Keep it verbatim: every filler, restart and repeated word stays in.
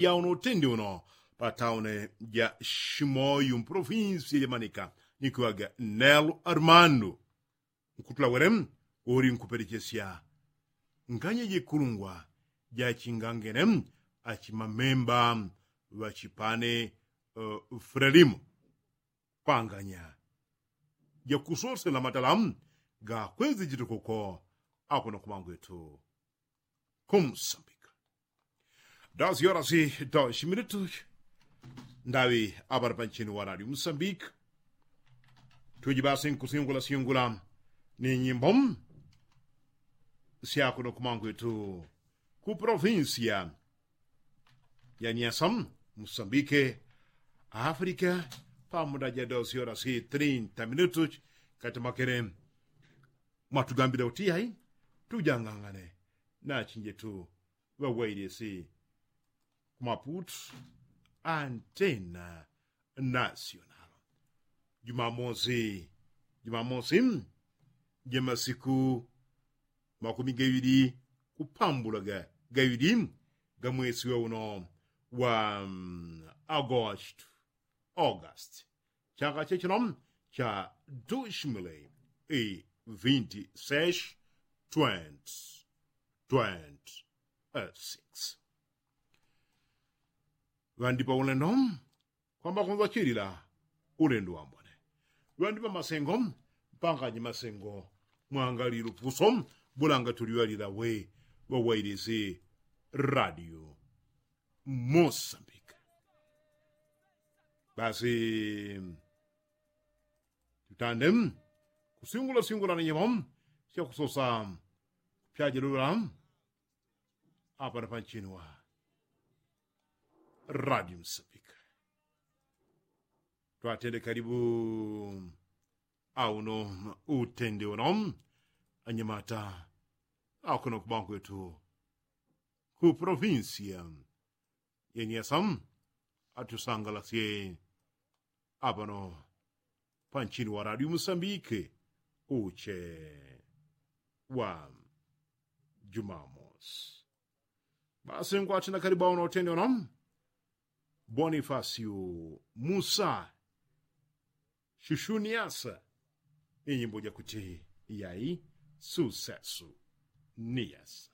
Yauno utendi uno pataune ja shimoyu mprofinsi jamanika nikiwaga nelu armandu nkutula wele uli nkupelechesya nganye jikulungwa jachingangene achimamemba ŵachipane frelimu panganya jakusosela matala gakwezi jitukuko akuno kumangwetu kumsambika. Dos yoras i dos minutus ndawi apara panchini wa radio musambika. Tuji basi nkusingula singula ni nyimbo syakuno kumangwetu ku provinsia ya niasa musambike afrika. Pamuda ja dos yoras i trinta minutus kati makele mwatugambila uti yai tujangangane nachinjetu ŵawailisi kumaputu antena nasional. Jumamosi jumamosi jemasiku makumi gaili kupambula gaili gamwesi weuno wa agostu august chaka chechino cha dushmili i vinti sesh twenti twenti six. Ŵandipa ulendo kwamba kunzachilila ulendo wambone. Ŵandipa masengo mpanganye masengo mwangali lupuso bulanga tuliŵalila we ŵawailisi radio mosambika. Basi tutande kusingula singula ni nyemo syakusosa pyajelula apana panchini wa radio msambika. Twatende kalibu auno utende uno anyamata akuno kubangwetu ku provinsia yeniasa atusangalasye apano panchini wa radio musambike uche wa jumamos. Basi ngwati na kalibu auno utende uno bonifasio musa shushuniasa inyimbo jakuti yai susesu niyasa.